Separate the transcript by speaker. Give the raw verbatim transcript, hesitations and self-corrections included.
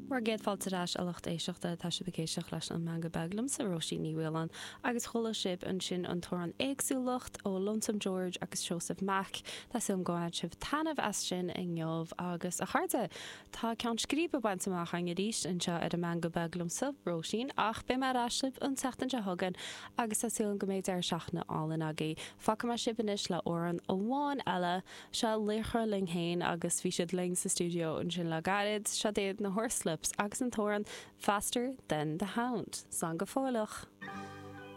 Speaker 1: Bhur gcéad fáilte ar ais a lucht éisteachta tá sibh ag éisteacht leis an Meangadh Beag liomsa Róisín Ní Mhaoláin agus chuala sibh ansin an t-amhrán éagsúlacht ó Lonesome George agus Seosamh Mac Tá súil agam go bhain sibh taitneamh as sin inniu agus a chairde Tá ceann scríbe bainte amach againn arís anseo ar an Meangadh Beag liomsa Róisín ach beidh mé ar ais libh an tseachtain seo chugainn agus tá súil agam go mbeidh deireadh seachtaine álainn agaibh. Fágfaidh mé sibh anois le amhrán amháin eile seo laochra linn féin agus bhí siad linn sa stiúideo ansin le gairid, seo iad na Horslips agus an t-amhrán Faster Than the Hound. Slán go fóilleach.